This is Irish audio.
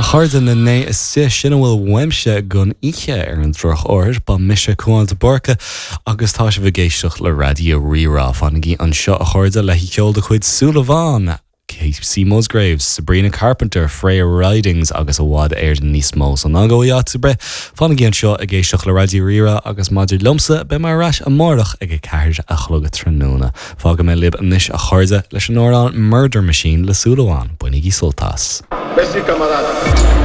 chairde, na 9 istigh, sin a bhfuil uaimse don oíche ar an drochuair. Ba mise Cuán de Búrca agus tá sibh ag éisteacht le Raidió Rí-Rá. Fanaigí anseo a chairde le ceol de chuid Súil Amháin, Kacey Musgraves, Sabrina Carpenter, Freya Ridings agus i bhfad Éireann níos mó. So ná gabhaigí áit ar bith, fanaigí anseo ag éisteacht le Raidió Rí-Rá agus maidir liomsa, beidh mé ar ais amárach ag 4 a chlog tráthnóna. Fágfaidh mé libh anois a chairde leis an amhrán Murder Machine le Súil Amháin. Bainigí sult as. Merci camarade.